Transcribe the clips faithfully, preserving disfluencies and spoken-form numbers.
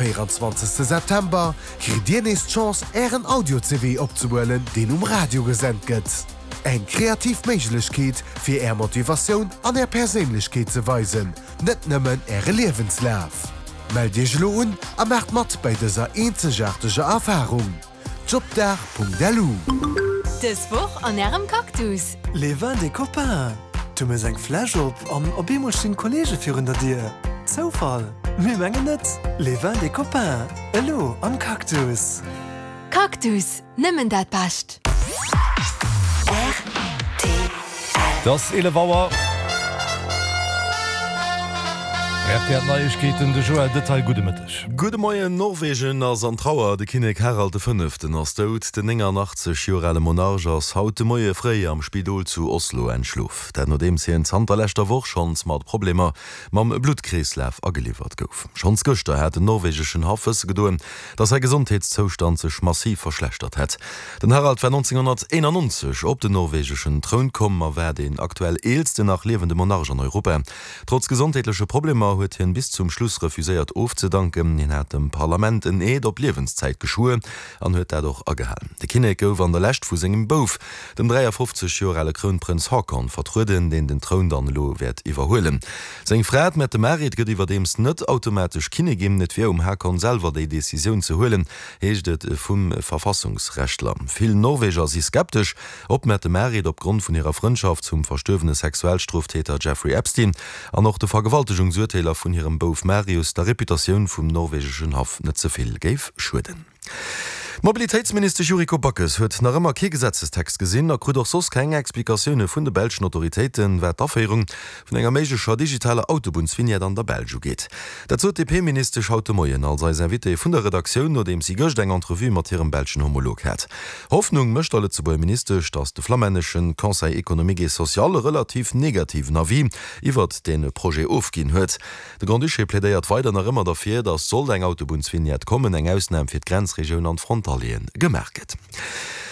véieranzwanzegste September kritt Dir nees d'Chance, Ären Audio-C V opzehuelen, deen um Radio gesent gëtt. Eng kreativ Méiglechkeet, fir Är Motivatioun an Är Perséinlechkeet ze weisen, net nëmmen Äre Liewenslaf. Mellt Iech elo un a maacht mat bei dëser eenzegaarteger Erfarung. Jobdag Punkt L U. Dës Woch an Ärem Cactus. Les vins des copains. Du méchs eng Fläsch op an op eemol stinn Kolleege virun der Dier. Zoufall? Mir mengen net. Les vins des copains. Elo am Cactus. Cactus, nëmmen dat Bescht. R T L. Et ass eelef Auer. R T L Neiegkeeten, de Joël Detail, gudde Mëtteg. Gudde Moien, Norwegen ass an Trauer, de Kinnek Harald de Fënneften ass dout. Den nénganachtzeg Joer ale Monarch ass haut de Moie fréi am Spidol zu Oslo entschlof. Dat nodeems hien zanter leschter Woch schonns mat Problemer mam Bluttkreeslaf ageliwwert gouf. Schonns gëschter hat den norwegeschen Haff wësse gedoen, datt säi Gesondheetszoustand sech massiv verschlechtert hätt. Den Harald war nonzénghonnerteenannonzeg op den norwegeschen Troun komm a war deen aktuell eelsten nach liewende Monarch an Europa. Trotz gesondheetleche Problemer huet hien bis zum Schluss refuséiert ofzedanken. Hien hat dem Parlament en Eed op Liewenszäit geschwuer an huet dat och agehalen. De Kinnek gouf an der Lescht vu sengem Bouf, dem dräiafofzeg Joer ale Krounprënz Haakon, vertrueden, deen den Troun dann elo wäert iwwerhuelen. Seng Fra, d'Mette-Marit, gëtt iwwerdeems net automatesch Kinnigin. Et wier um Haakon selwer déi Decisioun ze huelen, heescht et vum Verfassungsrechtler. Vill Norweger si skeptesch, ob d'Mette-Marit opgrond vun hirer Frëndschaft zum verstuerwene Sexualstroftäter Jeffrey Epstein an och de Vergewaltegungsurteeler vun hirem Bouf Marius der Reputatioun vum norwegeschen Haff net ze vill géif schueden. D'Mobilitéitsministesch Yuriko Backes huet nach ëmmer kee Gesetzestext gesinn a krut och soss keng Explikatioune vun de belschen Autoritéiten, wat d'Aféierung vun enger méiglecher digitaler Autobunnsvignette an der Belsch ugeet. Dat sot d'D P-Ministesch haut de Moien als eis Invitée vun der Redaktioun, nodeems si gëscht eng Entrevue mat hirem belschen Homolog hat. Hoffnung mécht der Lëtzebuerger Ministesch, datt de flammännesche Conseil économique et social e relativ negativen Avis iwwert dee Projet ofginn huet. De Grand-Duché plädéiert weider nach ëmmer derfir, datt sollt eng Autobunnsvignette kommen, eng Ausnam fir d'Grenzregioun an d'Frontalieren gemaach gëtt.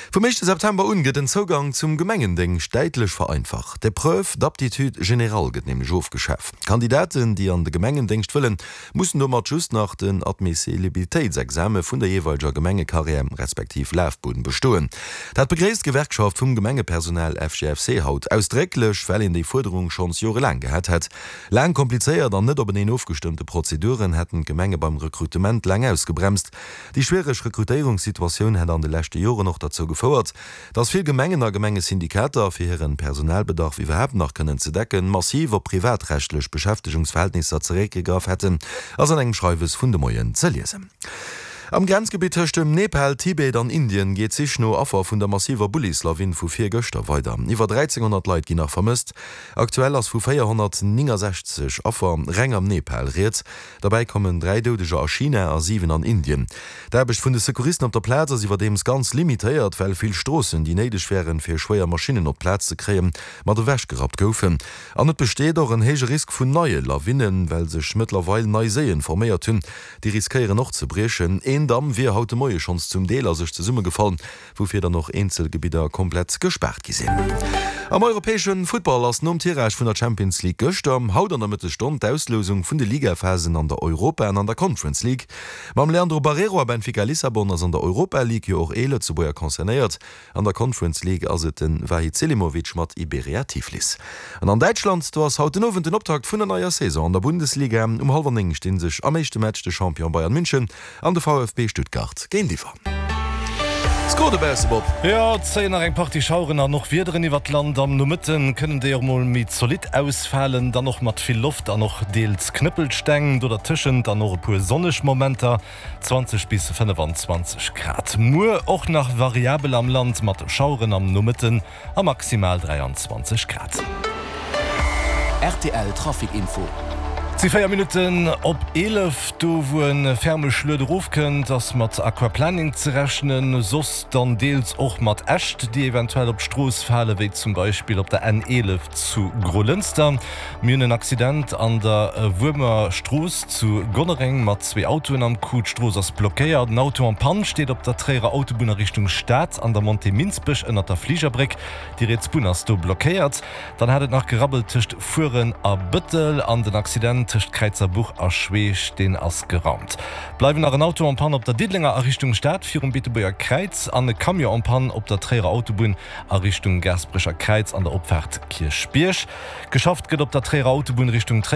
Vum éischte September un gëtt den Zougang zum Gemengendéngscht däitlech vereinfacht. D'Épreuve d'aptitude générale gëtt nämlech ofgeschaf. Kandidaten, déi an de Gemengendéngscht wëllen, mussen domat just nach den Admissibilitéitsexame vun der jeeweileger Gemengekarriär respektiv Lafbunn bestoen. Dat begréisst d'Gewerkschaft vum Gemengepersonal F G F C haut ausdrécklech, well een déi Fuerderung schonns jorelaang gehat hätt. Laang, komplizéiert an net openeen ofgestëmmte Prozeduren hätten d'Gemenge beim Rekrutement laang ausgebremst. Déi schwiereg Rekrutéierungssituatioun hätt an de leschte Joren och derzou gefouert, dass vill Gemengen a Gemengesyndikater, fir hiren Personalbedarf iwwerhaapt nach kënnen ze decken, massiv op privatrechtlech Beschäftegungsverhältnisser zeréckgegraff hätten, ass an engem Schreiwes vun de Moien ze liesen. Am Grenzgebitt tëscht dem Nepal, Tibet an Indien geet d'Sich no Affer vun der massiver Bullislawin vu virgëschter weider. Iwwer dräizénghonnert Leit ginn nach vermësst. Aktuell ass vu véierhonnertnéngensechzeg Affer reng am Nepal rieds. Derbäi kommen dräi Doudeger a China a siwen an Indien. D'Aarbecht vun de Secouristen op der Plaz ass iwwerdeems ganz limitéiert, well vill Stroossen, déi néideg wären, fir schwéier Maschinnen op d'Plaz ze kréien, mat ewechgerappt goufen. An et besteet och en héije Risk vun neie Lawinnen, well sech mëttlerweil nei Séien forméiert hunn, déi riskéieren och ze briechen. Een Damm wier haut de Moie schonns zum Deel a sech zesummegefall, woufir dann och eenzel Gebidder komplett gespaart gi sinn. Am europäesche Futtball ass nom Tirage vun der Champions League gëschter, haut an der Mëttesstonn d'Auslousung vun de Ligaphasen an der Europa an an der Conference League. Mam Leandro Barreiro a Benfica Lissabon ass an der Europa League jo och ee Lëtzebuerger concernéiert. An der Conference League ass et de Vahid Selimovic mat Iberia Tiflis. An an Däitschland, do ass haut den Owend den Optakt vun der neier Saison an der Bundesliga. Um hallwer néng sti sech am éischte Match de Champion Bayern München an de V F B Stuttgart géintiwwer. Score dobausse, Bob. Jo, et zéien nach eng Partie Schaueren an och Wiederen iwwert d'Land. Am Nomëtte kënnen déi och mol méi zolidd ausfalen, dann och mat vill Loft an och deels Knëppelsteng. Do dertëschent dann och e puer sonneg Momenter, zwanzeg bis fënnefanzwanzeg Grad. Muer och nach variabel am Land mat Schaueren am Nomëtten a maximal dräianzwanzeg Grad. R T L Trafic Info. Et si véier Minutten op eelef. Do wou e ferme Schluet erofkënnt, ass mat Aquaplaning ze rechnen, soss dann deels och mat Äscht, déi eventuell op d'Strooss falen, wéi zum Beispill op der N eelef zu Grolënster. Mir hunn en Accident an der Wuermer Strooss zu Gonnereng mat zwee Autoen am Coup. D'Strooss ass blockéiert. En Auto en panne steet op der Tréierer Autobunn a Richtung Stad an der Montée Minsbech ënnert der Fligerbréck. Déi riets Bunn ass do blockéiert. Dann hat et nach gerabbelt tëscht Furen a Bëttel an den Accident tëscht Kräizerbuch a Schweech, deen ass geraumt. Bleiwen nach en Auto en panne op der Diddelenger a Richtung Stad virum Beetebuerger Kräiz an e Camion en panne op der Tréierer Autobunn a Richtung Gaasperecher Kräiz an der Opfaart Kierchbierg. Geschafft gëtt op der Tréierer Autobunn Richtung Tréier.